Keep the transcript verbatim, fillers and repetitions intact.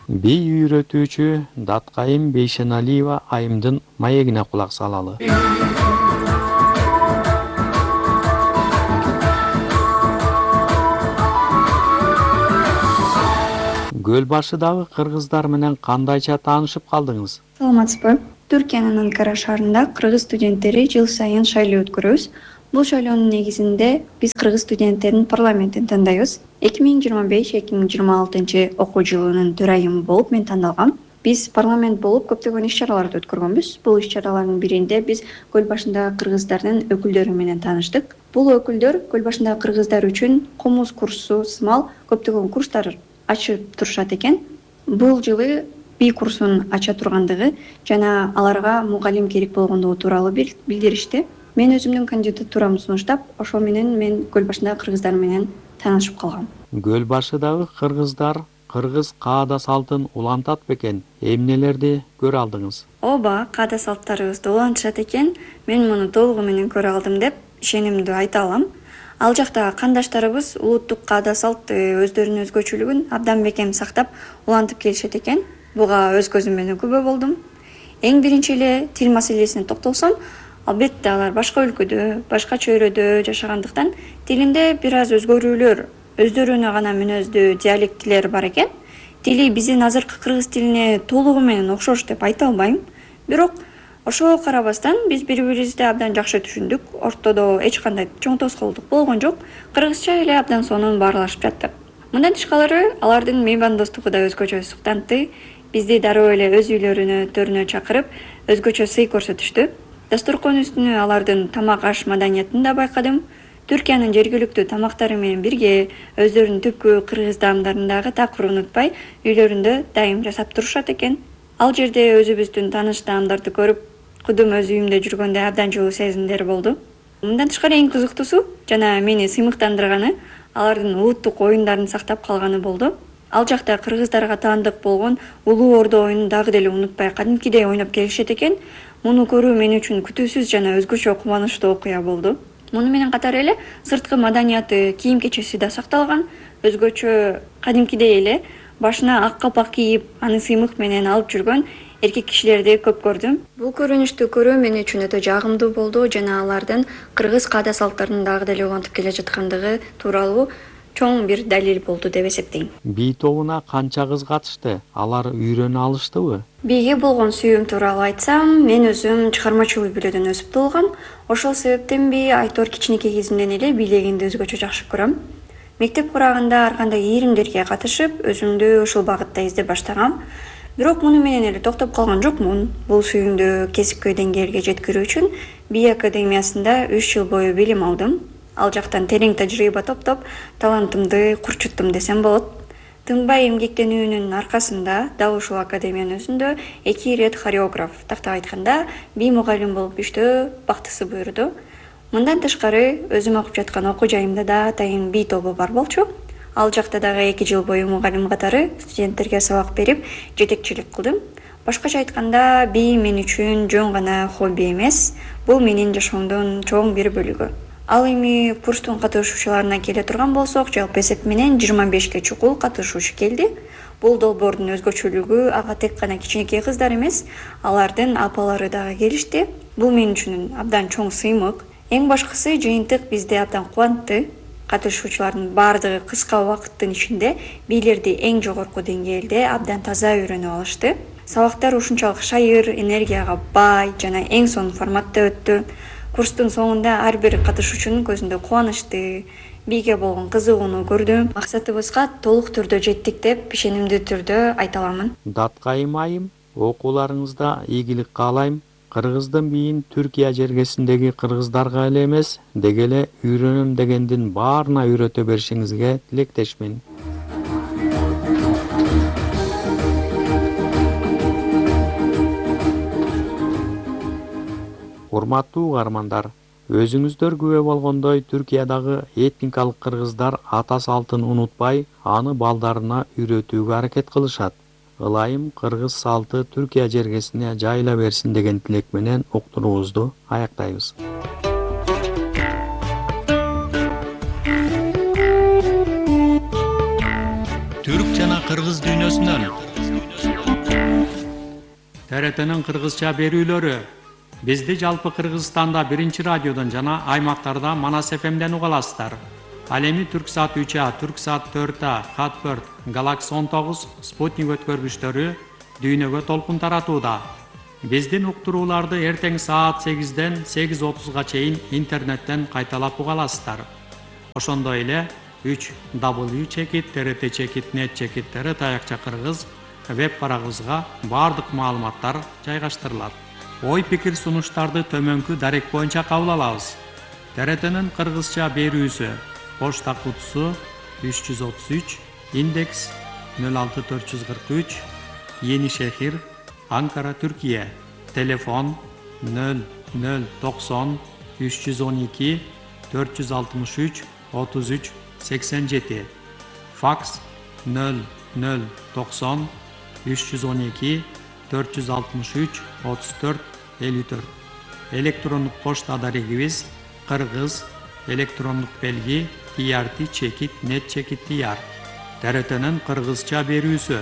Би үйрөтүүчү Даткайым Бейшеналиева айымдын маегине кулак салалы. Көл башыдагы кыргыздар менен кандайча таанышып калдыңыз? Саламатсызбы? Түркиянын Анкара шаарында кыргыз студенттери жыл сайын шайлоо өткөрөбүз. Бул шайлоонун негизинде биз кыргыз студенттеринин парламентин тандайбыз. эки миң жыйырма беш эки миң жыйырма алтынчы окуу жылынын төрайымы болуп мен тандалгам. Биз парламент болуп көптөгөн иш-чараларды өткөргөнбүз. Бул иш-чаралардын биринде биз көл башындагы кыргыздардын өкүлдөрү менен тааныштык. Бул өкүлдөр көл башындагы кыргыздар үчүн комуз курсу сымал көптөгөн курстар ачып турушат экен. Бул жылы би курсун ача тургандыгы жана аларга мугалим керек болгондугу тууралуу билдиришти. Мен өзүмдүн кандидатурамды сунуштап, ошол менен мен көл башындагы кыргыздар менен таанышып калгам. Көл башыдагы кыргыздар кыргыз каада салтын улантат бекен? Эмнелерди көрө алдыңыз? Ооба, каада салттарыбызды улантышат экен. Мен муну толугу менен көрө алдым деп ишенимдүү айта алам. Ал жактагы кандаштарыбыз улуттук каада салтты өздөрүнүн өзгөчөлүгүн абдан бекем сактап улантып келишет экен. Буга өз көзүм менен күбө болдум. Эң биринчи эле тил маселесине токтолсом, албетте алар башка өлкөдө, башка чөйрөдө жашагандыктан тилинде бир аз өзгөрүүлөр, өздөрүнө гана мүнөздүү диалектилер бар экен. Тили биздин азыркы кыргыз тилине толугу менен окшош деп айта албайм. Бирок ошого карабастан биз бири-бирибизди абдан жакшы түшүндүк. Ортодо эч кандай чоң тоскоолдук болгон жок. Кыргызча эле абдан сонун баарлашып жаттык. Мындан тышкары алардын меймандостугу да өзгөчө суктантты. Бизди дароо эле өз үйлөрүнө, төрүнө чакырып, өзгөчө сый көрсөтүштү. Дасторкон үстүнө алардын тамак аш маданиятын да байкадым. Түркиянын жергиликтүү тамактары менен бирге өздөрүнүн түпкү кыргыз даамдарын дагы такыр унутпай, үйлөрүндө дайым жасап турушат экен. Ал жерде өзүбүздүн тааныш даамдарды көрүп, кудум өз үйүмдө жүргөндө абдан жылуу сезимдер болду. Мындан тышкары эң кызыктуусу жана мени сыймыктандырганы алардын улуттук оюндарын сактап калганы болду. Ал жакта кыргыздарга таандык болгон Улуу Ордо оюнун дагы деле унутпай кадимкидей ойноп келишет экен. Муну көрүү мен үчүн күтүүсүз жана өзгөчө кубанычтуу окуя болду. Муну менен катар эле сырткы маданияты, кийим-кечеси да сакталган. Өзгөчө кадимкидей эле башына ак калпак кийип, аны сыймык менен алып жүргөн эркек кишилерди көп көрдүм. Бул көрүнүштү көрүү мен үчүн өтө жагымдуу болду жана алардын кыргыз каада салттарын дагы деле улантып келе жаткандыгы тууралуу чоң бир далил болду деп эсептейм. Би тобуна канча кыз катышты? Алар үйрөнө алыштыбы? Биге болгон сүйүүм тууралуу айтсам, мен өзүм чыгармачыл үй бүлөдөн өсүп туулгам. Ошол себептенби айтор кичинекей кезимден эле бийлегенди өзгөчө жакшы көрөм. Мектеп курагында ар кандай ийримдерге катышып, өзүмдү ушул багытта издеп баштагам. Бирок муну менен эле токтоп калган жокмун. Бул сүйүүмдү кесипкөй деңгээлге жеткирүү үчүн би академиясында үч жыл бою билим алдым. Ал жактан терең тажрыйба топтоп, талантымды курчуттум десем болот. Тынбай эмгектенүүнүн аркасында дал ушул академиянын өзүндө эки ирет хореограф, тактап айтканда, би мугалим болуп иштөө бактысы буйруду. Мындан тышкары өзүм окуп жаткан окуу жайымда да атайын би тобу бар болчу. Ал жакта дагы эки жыл бою мугалим катары студенттерге сабак берип, жетекчилик кылдым. Башкача айтканда, би мен үчүн жөн гана хобби эмес, бул менин жашоомдун чоң бир бөлүгү. Ал эми курстун катышуучуларына келе турган болсок, жалпы эсеп менен жыйырма бешке чукул катышуучу келди. Бул долбоордун өзгөчөлүгү ага тек гана кичинекей кыздар эмес, алардын апалары дагы келишти. Бул мен үчүн абдан чоң сыймык. Эң башкысы жыйынтык бизди абдан кубантты. Катышуучулардын баардыгы кыска убакыттын ичинде бийлерди эң жогорку деңгээлде абдан таза үйрөнүп алышты. Сабактар ушунчалык шайыр, энергияга бай жана эң сонун форматта өттү. Курстун соңунда ар бир катышуучунун көзүндө кубанычты, биге болгон кызыгууну көрдүм. Максатыбызга толук түрдө жеттик деп ишенимдүү түрдө айта аламын. Даткайым айым, окууларыңызда ийгилик каалайм. Кыргыздын бийин Түркия жергесиндеги кыргыздарга эле эмес, деги эле үйрөнөм дегендин баарына үйрөтө беришиңизге тилектешмин. Урматтуу угармандар, өзүңүздөр күбө болгондой Түркиядагы этникалык кыргыздар ата салтын унутпай, аны балдарына үйрөтүүгө аракет кылышат. Ылайым кыргыз салты Түркия жергесине жайыла берсин деген тилек менен уктуруубузду аяктайбыз. Түрк жана кыргыз дүйнөсүнөн. Т Р Т'нин кыргызча берүүлөрү. Бизди жалпы Кыргызстанда биринчи радиодон жана аймактарда Манас эф эмден уга аласыздар. Ал эми Түрксат үч А, Түрксат төрт А, Хатбird, Galaxy он тогуз, Спутник өткөргүчтөрү дүйнөгө толкун таратууда. Биздин уктурууларды эртең саат сегизден сегиз отузга чейин интернеттен кайталап уга аласыздар. Ошондой эле үч дабл ю чекит т р т чекит нет чекит т р таякча кыргыз веб барагыбызга бардык маалыматтар жайгаштырылат. Ой пикир сунуштарды төмөнкү дарек боюнча кабыл алабыз. Т Р Т'нин кыргызча берүүсү. Почта кутусу үч жүз отуз үч, индекс нөл алты төрт жүз кырк үч, Yeni Şehir, Ankara, Türkiye. Telefon nol nol doksan üç yüz on iki dört yüz altmış üç otuz üç seksen yedi. Faks nol nol doksan üç yüz on iki dört yüz altmış üç otuz dört elli dört. Elektronik poçta adarigimiz Kırgız, elektronik belgi T R T çekit net çekit diyar. T R T'nin Kırgızça berүүsü.